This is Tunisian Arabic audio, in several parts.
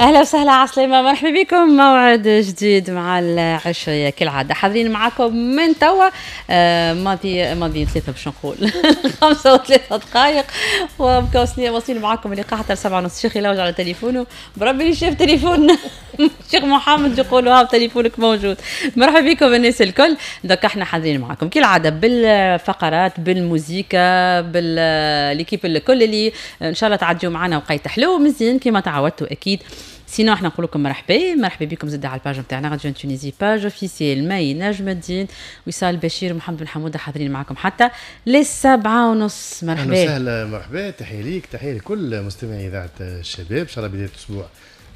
اهلا وسهلا، عسلامة، مرحبا بكم. موعد جديد مع العشية كالعادة حاضرين معكم من توا ماضي ماضي 3 باش نقول 5:03 ومكوسنين واصلين معكم اللقاء حتى 7:30. شيخي يلوج على تليفونه، بربي اللي شاف تليفون شيخ محمد يقولوا ها تليفونك موجود. مرحبا بكم الناس الكل. donc احنا حاضرين معكم كالعادة بالفقرات، بالموزيكا، بال l'équipe الكل اللي ان شاء الله تعديوا معنا وقيت حلو مزيان كما تعودتوا اكيد. sinon احنا نقول لكم مرحبا، مرحبا بكم زاد على ال page نتاعنا Radio Tunisie، page officielle. مي نجم الدين، وصال بشير، ومحمد بن حموده حاضرين معكم حتى لل7:30. مرحبا. اهلا وسهلا، مرحبا، تحية ليك، تحية لكل مستمعي اذاعة الشباب. ان شاء الله بداية اسبوع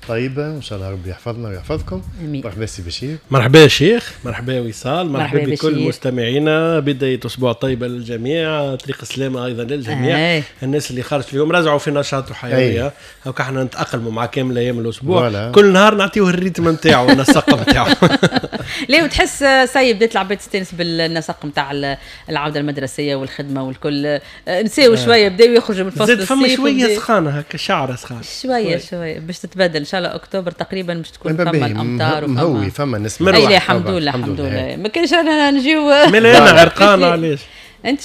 طيبه، وان شاء الله ربي يحفظنا ويحفظكم. امين. مرحبا سي بشير. مرحبا شيخ، مرحبا وصال، مرحبا مرحبا بكل بشير. مستمعينا. بداية أسبوع طيبة للجميع، طريق السلامة أيضا للجميع. الناس اللي خرجت اليوم رجعوا في نشاط وحيوية. هكا احنا نتأقلموا مع كامل أيام الأسبوع. voilà. كل نهار نعطيوه ال rythme نتاعو، النسق نتاعو. ليه وتحس ça y est بدات العباد تستانس بالنسق نتاع العودة المدرسية والخدمة والكل، نساو شويه، بداو يخرجوا من فصل زاد فما الصيف شوية سخانة هكا، شعرة سخانة. شوية شوية باش تتبدل ان شاء الله اكتوبر تقريبا باش تكون فما باهي، الامطار. مهوي، فما نسمة. اي لا، مروح. الحمد لله، الحمد لله، ما كانش رانا نجيو. مالا انا عرقان علاش؟ انت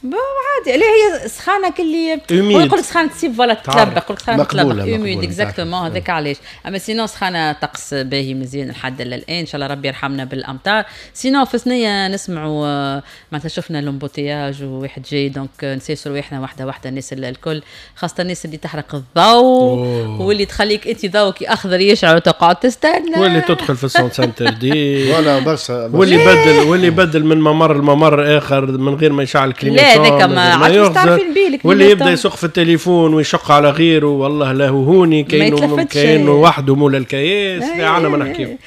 bon عادي، لا هي سخانه كلي humide. هو يقول لك سخانه تصيب ولا تلبق، يقول لك سخانه مقبولة، تلبق humide. مقبولة. exactement، هذاك علاش. اما sinon سخانه طقس باهي مزيان لحد الان، ان شاء الله ربي يرحمنا بالامطار. sinon في ثنيه نسمعوا معناتها شفنا l'embouteillage وواحد جاي، donc نسيسوا رواحنا واحدة واحده. الناس الكل، خاصة الناس اللي تحرق الضوء واللي تخليك انت ضوءك اخضر يشعل وتقعد تستنى. واللي تدخل في ال sens interdit. voilà، برشا. واللي يبدل من ممر لممر اخر من غير ما يشعل clignotant. لا، هذاك ما عادش تعرفين بيه. واللي يبدا يسوق في التليفون ويشق على غيره، والله لا هو هوني كاينه يتلفتش. كاينه وحده مولا الكياس، لا عنا ما نحكيو.